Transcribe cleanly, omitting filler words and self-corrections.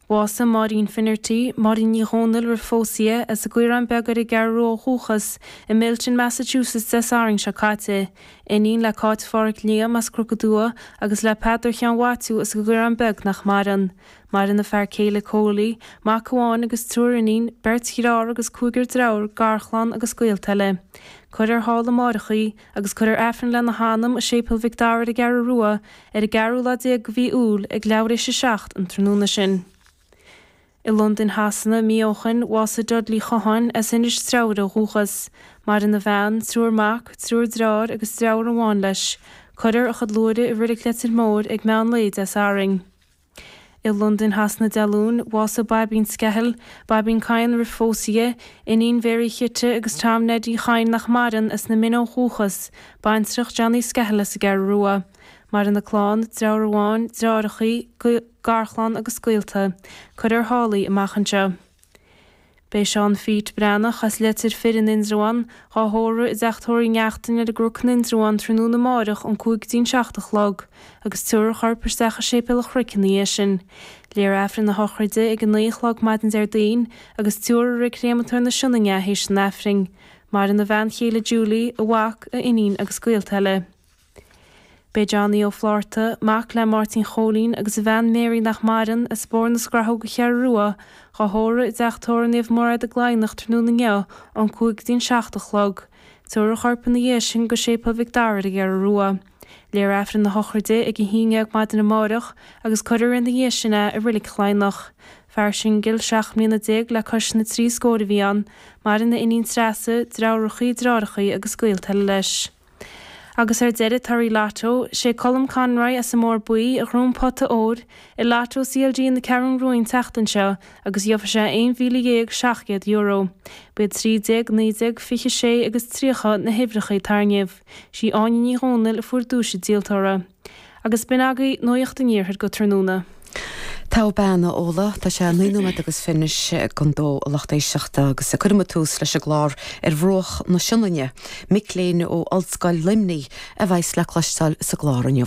Bhásaigh Máirín Finnerty, Máirín Ní Dhomhnaill roimh phósadh di, as an gCaorán Beag ar an gCeathrú Rua ó dhúchas, i Milton, Massachusetts Dé Sathairn seo caite. Iníon le Cáit Phádhraic Liam as Cnoc an Dua agus le Peadar Sheáin Mhaitiú as an gCaorán Beag nach maireann. Maireann a fear céile Cóilí, mac amháin agus triúr iníon, beirt dhearthár agus cúigear deirfiúr, garchlann agus gaolta eile. Cuirfear thall amáireach í, agus cuirfear Aifreann lena hanam i Séipéal Mhic Dara ar an gCeathrú Rua ar an gceathrú lá déag de mhí Iúil ag leathuair éis 7 an tráthnóna sin. I Londain Shasana, mí ó shoin, bhásaigh Dudley Chotháin, as Inis Treabhair ó dhúchas. Maireann a bhean, triúr mac, triúr dearthár agus deirfiúr amháin leis. Cuirfear a chuid luaithre i Reilig Leitir Móir ag meán lae Dé Sathairn. I Londain Shasana Dé Luain, bhásaigh Baibín Skehill, Baibín Kyne roimh phósadh di, iníon Mhary Chite agus Tom Neidí Chadhain nach maireann, as na Mine ó dhúchas, baintreach Johnny Skehill as an gCeathrú Rua. Maireann a clann, deartháir amháin, deartháireachaí, garchlann agus gaolta. Cuirfear thall í amach anseo. Beidh Seán Phete Breathnach as Leitir Fir in Indreabhán dhá thórramh i dteach tórraimh Uí Neachtain ar an gCnoc in Indreabhán tráthnóna amáireach ón 5 go dtí'n 7 a chlog agus tabharfar a chorp isteach i Séipéal an Chnoic ina dhiaidh sin. Léifear Aifreann na sochraide ag 9 a chlog maidin Déardaoin agus tabharfar i Reilig Chréamatóir na Sionainne é théis an Aifrinn. Maireann a bhean chéile Julie, a mhac, a iníon agus gaolta eile. Beidh Johnny Ó Flátharta, mac le Máirtín Chóilín agus a bhean Mary nach maireann, as Bóthar na Scrathóg An Cheathrú Rua, dhá thórramh i dteach tórraimh Naomh Mairéad i gCladhnach tráthnóna inniu ón 5 go dtí'n 7 a chlog. Tabharfar a chorp ina dhiaidh sin go Séipéal Mhic Dara ar an gCeathrú Rua. Léifear Aifreann na sochraide ag 11 maidin amáireach agus cuirfear ina dhiaidh sin é i Reilig Chladhnach. Fear singil, 17 mbliana le cois na dtrí scór a bhí ann. Maireann a iníon Treasa, deartháireachaí, deartháireachaí agus gaolta eile leis. Agus ar deireadh, torthaí Lotto, sé Colm Conroy as an mBóthar Buí a ghnóthaigh an pota óir i Lotto CLG na Ceathrún Rua an tseachtain seo agus gheobhaidh sé €11,700. Ba iad 13, 19, 26 agus 30 na huimhreacha a tarraingíodh. Sí Áine Ní Dhomhnaill a fuair duais an díoltóra. Agus b'in agaibh Nuacht an Iarthair go tráthnóna. Togha bean, a Fhódhla. Tá sé 9 nóiméad agus fiche anois don dó, a lucht éisteachta, agus cuirfidh muid tús leis an gclár ar bhruach na Sionainne. Mic léinn ó Ollscoil Luimnigh a bheas le cloisteáil sa gclár inniu.